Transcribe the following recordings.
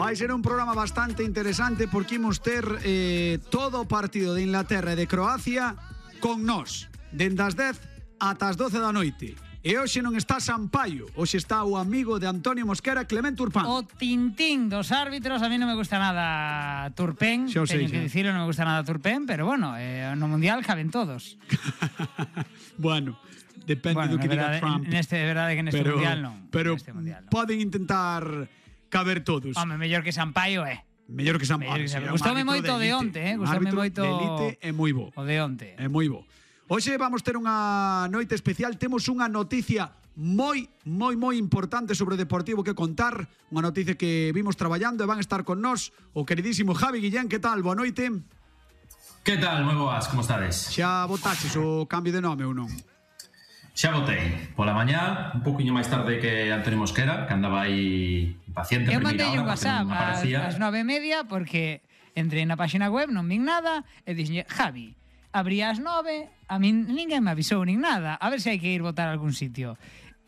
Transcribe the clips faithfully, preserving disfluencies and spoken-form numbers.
Vai ser un programa bastante interesante porque imos ter eh, todo o partido de Inglaterra e de Croacia con nós, dende as dez ata as doce da noite. E hoxe non está Sampaio, hoxe está o amigo de Antonio Mosquera, Clement Turpán. O tintín dos árbitros, a mí non me gusta nada Turpén, Xo sei, teño que xa. dicirlo, non me gusta nada Turpén, pero bueno, eh, no Mundial caben todos. Bueno, depende Bueno, do que na diga verdade, Trump. neste, é verdade que neste pero, Mundial non. Pero neste mundial, non. poden intentar caber todos. Home, mellor que Sampaio, eh. Mellor que Sampaio. Mellor que Sampaio. Gustoume moito o de onte, eh. Gustoume moito de elite é moi bo. O de onte. É moi bo. Hoxe vamos ter unha noite especial, temos unha noticia moi, moi, moi importante sobre o Deportivo que contar, unha noticia que vimos traballando e van a estar con nós o queridísimo Javi Guillén. Que tal? Boa noite. Que tal? Moi boas, como estades? Xa votaches o cambio de nome ou non? Xa votei. Pola mañá, un poquinho máis tarde que Antonio Mosquera, que andaba aí impaciente. Eu mandei un WhatsApp ás, ás nove e media porque entrei na página web, non vin nada e dixen, Javi, abría as nove, a min ninguén me avisou nin nada, a ver se hai que ir votar a algún sitio.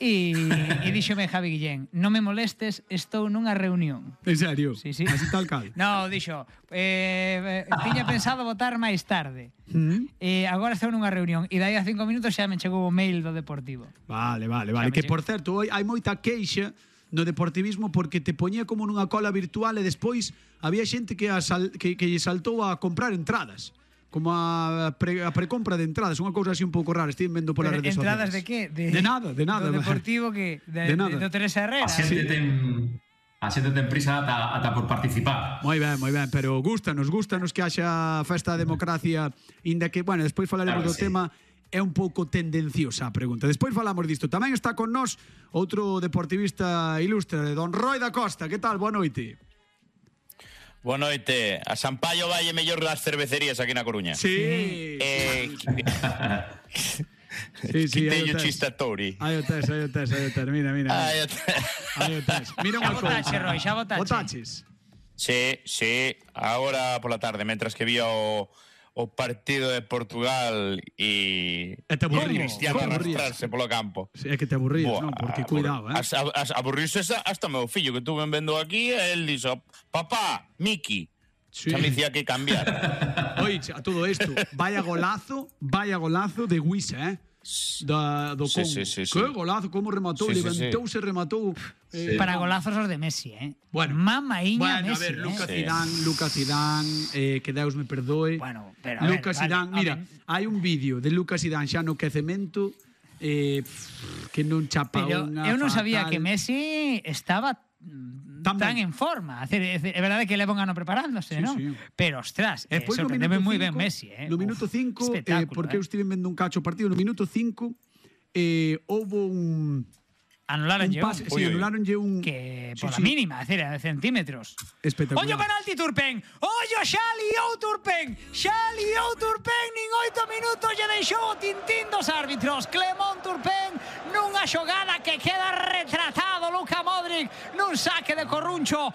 E, e díxome Javi Guillén, non me molestes, estou nunha reunión. En serio? Sí, sí. Así tal cal? No, dixo, eh, tiña pensado votar máis tarde. ¿Mm? E agora estou nunha reunión e dai a cinco minutos xa me chegou o mail do Deportivo. Vale, vale, vale. Que, por certo, hai, hai moita queixa no deportivismo porque te poñía como nunha cola virtual e despois había xente que, asal, que, que lle saltou a comprar entradas. Como a, pre, a precompra de entradas, unha cousa así un pouco rara, estive vendo polas redes sociales. Entradas de que? De, de nada, de nada. Do Deportivo que de, de nada. De, do Teresa Herrera. A xente ten a xente ten prisa ata, ata por participar. Moi ben, moi ben, pero gustanos, gustanos que haxa festa da democracia, inda que, bueno, despois falaremos Claro do sí. tema. É un pouco tendenciosa a pregunta. Despois falamos disto. Tamén está con nós outro deportivista ilustre, don Roi da Costa. Que tal? Boa noite. Boa noite. A Sampaio vai mellor das cervecerías aquí na Coruña. Sí. Eh, sí, sí, Quiteño Chistatori. Aí o tes, aí o tes, aí o tes. Mira, mira. Aí o tes. Aí o tes. Mira Xa unha votache, cousa. Roi, xa votache. Votaches. Sí, sí, agora pola tarde, mentras que vía o, o partido de Portugal e E te aburrías. Cristiano Como aburrías? arrastrarse polo campo. Sí, é que te aburrías, Buah, non? Porque cuidado, eh. As, as, aburrirse hasta o meu fillo que tuve vendo aquí, el dixo, papá, Miki. Sí. Xa me dicía que cambiar. Oye, a todo isto, vaya golazo, vaya golazo de Wisa, eh? Da, do Sí, Congo. sí, sí, sí. Que golazo, como rematou, Sí, sí, levantouse, rematou. Eh, Para golazos os de Messi, eh. Bueno, Mamaiña bueno, Messi, a ver, Lucas eh. Zidane, Lucas Zidane, eh, que Deus me perdoe. Bueno, pero a ver, Lucas vale, Zidane, mira, home. hai un vídeo de Lucas Zidane xa no quecemento eh, pff, que non chapa Pero unha eu non sabía fatal. que Messi estaba mm, Tan tan ben. en forma. É, é verdade que leva un ano preparándose, Sí, non? sí. Pero, ostras, E eh, despois no sorprendeme minuto moi cinco, ben Messi, eh. No minuto Uf, cinco, eh, espectáculo, porque eh. eu estive vendo un cacho partido, no minuto cinco eh, houve un Anularon un pase, Ui, sí, ui. anularonlle un que sí, pola sí, mínima, é dicir, de centímetros. espectacular. Ollo penalti Turpén. Ollo xa liou Turpén. Xa liou Turpén, nin oito minutos lle deixou o tintín dos árbitros. Clement Turpén nunha xogada que queda retratado Luka Modric nun saque de Corruncho.